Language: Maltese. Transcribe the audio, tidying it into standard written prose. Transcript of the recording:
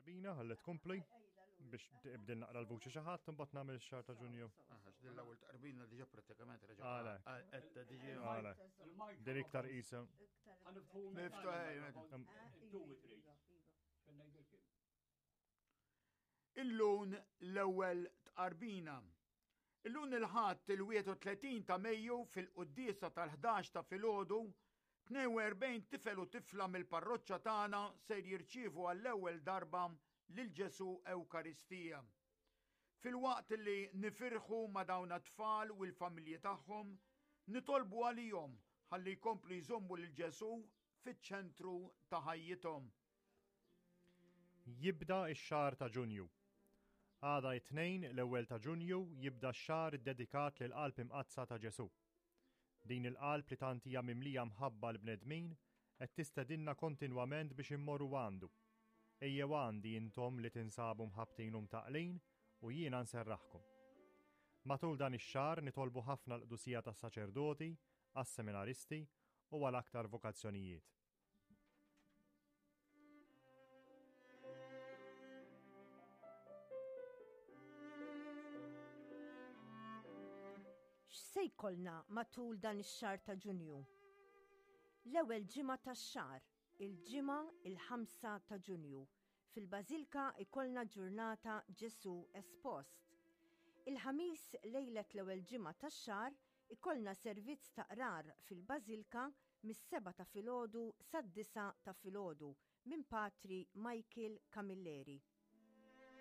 Tqarbina ħalli tkompli biex tibdil naqra l-vuċi xi ħadd imbagħad nagħmel ix-xahar ta' Ġunju. Aha, din l-ewwel tqarbina diġà prattikament reġa' qed diġi. Din iktar qisha. Miftuħ. Illum l-ewwel tqarbina. Illum il-Ħadd il-31 ta' Mejju fil-quddiesa tal-11 ta' filgħodu, 42 tifel u tifla mill-parroċċa tagħna ser jirċievu għall-ewwel darba lil Ġesù Ewkaristija. Filwaqt li nifirħu ma' dawn t-tfal u l-familji tagħhom, nitolbu għalihom ħalli jkomplu jżommu lil Ġesù fiċ-ċentru ta' ħajjithom. Jibda x-xahar ta' Ġunju. Għada it-Tnejn, l-ewwel ta' Ġunju, jibda x-xahar iddedikat lill-Qalb Imqaddsa ta' Ġesù. Din il-qalb li tant hija mimlija mħabba għall-bnedmin qed tistedinna kontinwament biex immorru għandu. Ejjew għandi intom li tinsabu mħabbtin u mtaqqlin u jiena nserraħkom. Matul dan ix-xahar nitolbu ħafna l-qdusija tas-saċerdoti, għas-seminaristi u għal aktar vokazzjonijiet. X'se jkollna matul dan ix-xahar ta' Ġunju? L-ewwel ġimgħa tax-xahar, il-Ġimgħa il-5 ta' Ġunju, fil-Bażilka jkollna ġurnata Ġesù Espost. Il-Ħamis lejlet l-ewwel ġimgħa tax-xahar ikollna servizz ta' qrar fil-Bażilka mis-sebgħa ta' filgħodu sad-disgħa ta' filgħodu minn Patri Michael Camilleri.